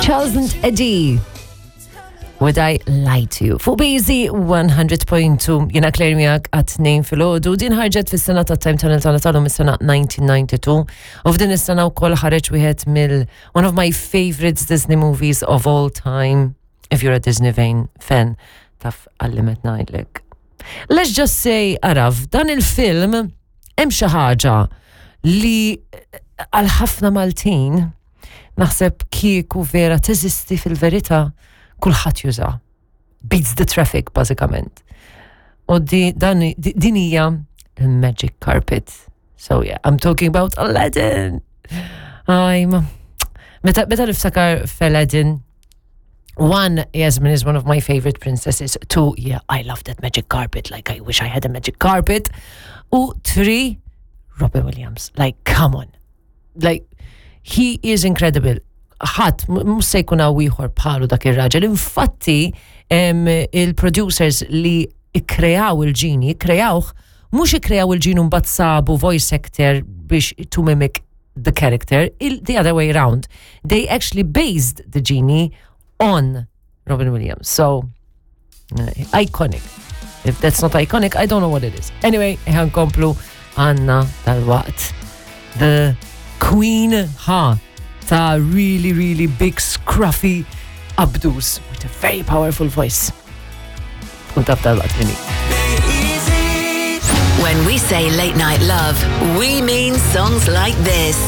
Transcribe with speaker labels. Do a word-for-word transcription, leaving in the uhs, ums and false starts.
Speaker 1: Charles and Eddie. Would I Lie to You? Fuq B-Easy one hundred point two, jiena Claire miegħek għat-tnejn filgħodu. Din ħarġet fis-sena ta' Time Tunnel tagħna tal is-sena elf disa' mija u tnejn u disgħin. U f'din is-sena wkoll ħareġ wieħed mill one of my favorites Disney movies of all time. If you're a Disney fan, fan taf għal li qed ngħidlek. Let's just say, araw, dan il-film hemm xi ħaġa li għal ħafna Maltin naħseb kieku vera teżisti fil-verità, kulħadd juża. Beats the traffic, bażikament. U di, dan, di, din hija il-magic carpet. So yeah, I'm talking about Aladdin. I'm Meta, meta niftakar f'Aladdin, one, Yasmin is one of my favorite princesses. Two, yeah, I love that magic carpet. Like, I wish I had a magic carpet. U three, Robin Williams. Like, come on. Like, he is incredible. Ħadd mhux se jkun hawn ieħor bħalu dak ir-raġel. Infatti, em, il-producers li ikkreaw il-ġini, ikkreawh, mhux ikkreaw il-ġini mbagħad sabu voice actor biex to mimic the character, il, the other way around. They actually based the genie on Robin Williams. So, uh, iconic. If that's not iconic, I don't know what it is. Anyway, ħa nkomplu, għandna dalwaqt. The Queen, ha, ta' really, really big, scruffy updos with a very powerful voice. Tkun taf dalwaqt min hi.
Speaker 2: When we say late night love, we mean songs like this.